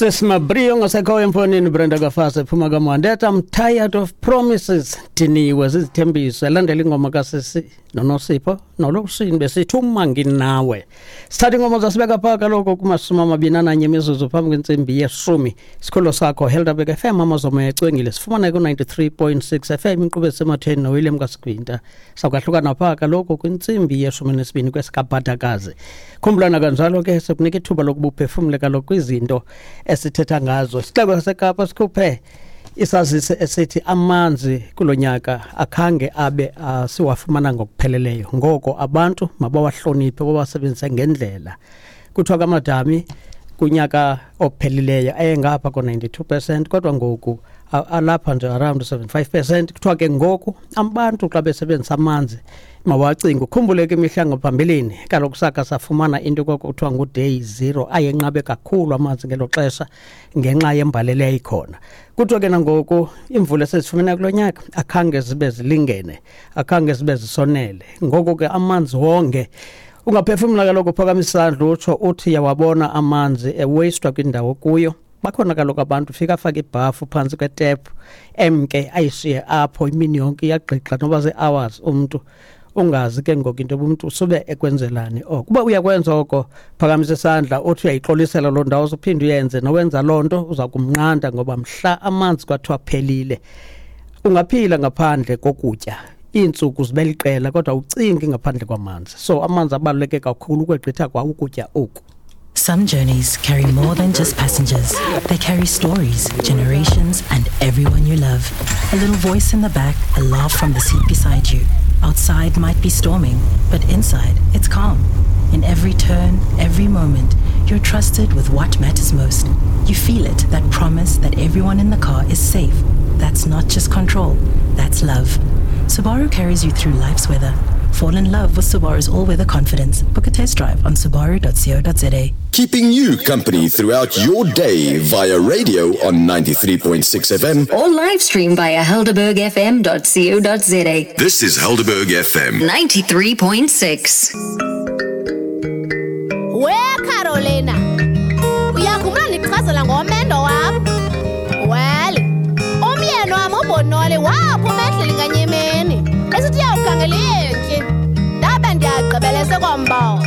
Sesimabriyo ngasekhoyo emfonini Brenda Kafase phuma kaMandeta. I'm tired of promises, diniwe zizithembiso. Elandela ingoma kasisi noNosipho nolokusini besithi uma nginawe. Sithatha ingoma zasibeka phaa kaloku kuma-21 imizuzu phambi kwentsimbi yeshumi. Sikholo sakho Helderberg FM, amazomo ecwengile, sifumana ku-93.6 FM, inkqubo esematheni noWilliam Kasigwinta. Sakwahlukana phaa kaloku kwintsimbi ye-12 kwesikabhadakazi. Khumbulana kanjalo ke sikunika ithuba lokuba uphefumle kaloku kwizinto esithetha ngazo. Isixeko saseKapa sikhuphe isazisi esithi amanzi kulo nyaka akhange abe siwafumana ngokupheleleyo, ngoko abantu mabawahloniphe, bawasebenzise ngendlela. Kuthiwa kamadami kunyaka ophelileyo ayengapha ko-92%, kodwa ngoku alapha nje around 75%. Kuthiwa ke ngoku abantu xa besebenzisa amanzi mawacinge. Ukhumbule ke imihla ngaphambilini kaloku saka safumana into kwakuthiwa nguday zero, ayenqabe kakhulu amanzi ngelo xesha ngenxa yembalelo eyayikhona. Kuthiwa ke nangoku imvula esezifumene kulo nyaka akhange zibe zilingene, akhange zibe zisonele, ngoko ke amanzi wonke. Ungaphefumla kaloku, uphakamisa isandla utsho uthi yawabona amanzi ewastwa kwindawo kuyo. Bakhona kaloku abantu fika afake ibhafu phantsi kwetephu emke ayishiye apho imini yonke, iyagqixa noba zii-hours, umntu ungazi ke ngoku into yoba umntu usube ekwenzelani oko. Uba uyakwenza oko, phakamisa isandla uthi uyayixolisela loo ndawo, uphinde uyenze. Nowenza loo nto uza kumnqanda, ngoba mhla amanzi kwathiwa phelile, ungaphila ngaphandle kokutya iintsuku zibe liqela, kodwa ucingi ngaphandle kwamanzi. So amanzi abaluleke kakhulu ukwegqitha kwa ukutya oku. Some journeys carry more than just passengers. They carry stories, generations, and everyone you love. A little voice in the back, a laugh from the seat beside you. Outside might be storming, but inside it's calm. In every turn, every moment, you're trusted with what matters most. You feel it, that promise that everyone in the car is safe. That's not just control, that's love. Subaru carries you through life's weather. Fall in love with Subaru's all-weather confidence. Book a test drive on subaru.co.za. Keeping you company throughout your day via radio on 93.6 FM. Or live stream via helderbergfm.co.za. This is Helderberg FM. 93.6. We Carolina, uyakhumbula ndichazela ngomendo wam? Well, umyeni wam uBonole waphuma endlini nganye imini esithi uyawukhangela iyentyi. Ndabe ndiyagqibelese kombona.